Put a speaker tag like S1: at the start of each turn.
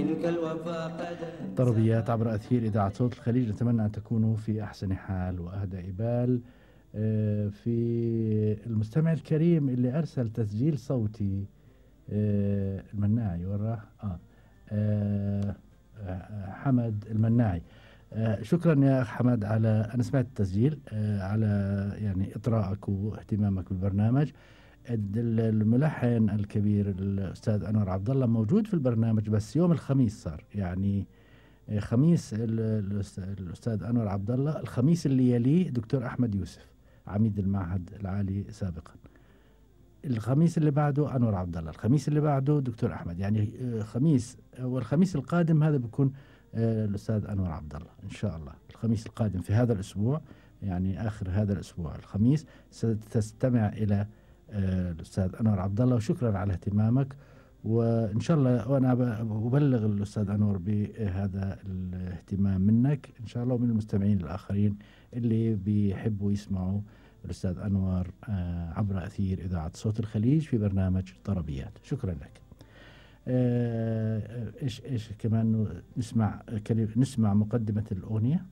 S1: منك الوفاء قد
S2: طربيات عبر أثير إذاعة صوت الخليج، نتمنى أن تكونوا في أحسن حال وأهدى إبال. في المستمع الكريم اللي أرسل تسجيل صوتي، المناعي وراه حمد المناعي. شكرا يا أخ حمد على أنا سمعت التسجيل، على يعني إطراءك واهتمامك بالبرنامج. الملحن الكبير الأستاذ أنور عبد الله موجود في البرنامج، بس يوم الخميس صار يعني خميس الأستاذ أنور عبد الله، الخميس اللي يليه دكتور أحمد يوسف عميد المعهد العالي سابقا، الخميس اللي بعده أنور عبد الله، الخميس اللي بعده دكتور أحمد، يعني خميس والخميس القادم هذا بيكون الأستاذ أنور عبد الله إن شاء الله. الخميس القادم في هذا الأسبوع، يعني آخر هذا الأسبوع الخميس، ستستمع إلى الأستاذ أنور عبد الله. وشكرا على اهتمامك، وإن شاء الله وأنا أبلغ الأستاذ أنور بهذا الاهتمام منك إن شاء الله ومن المستمعين الآخرين اللي بيحبوا يسمعوا الأستاذ أنور عبر أثير إذاعة صوت الخليج في برنامج طربيات. شكرا لك. إيش كمان نسمع مقدمة الأغنية.